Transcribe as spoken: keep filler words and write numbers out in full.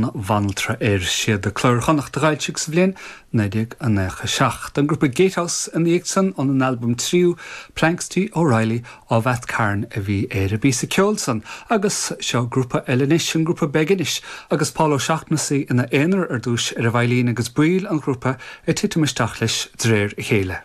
an Bhanaltra air siad Clár Chonnacht a d'fhoilsigh sa bhliain naoi déag nócha seacht. An grúpa Gatehouse ina dhiaidh san ón albam tríú Planxty O'Reilly of Athcarn a bhí ar an bpíosa ceoil san, agus seo grúpa eile anois an grúpa Beginish agus Paul O'Shaughnessy ina aonar ar dtús ar an veidhlín agus baill an ghrúpa ag titim isteach leis de réir a chéile.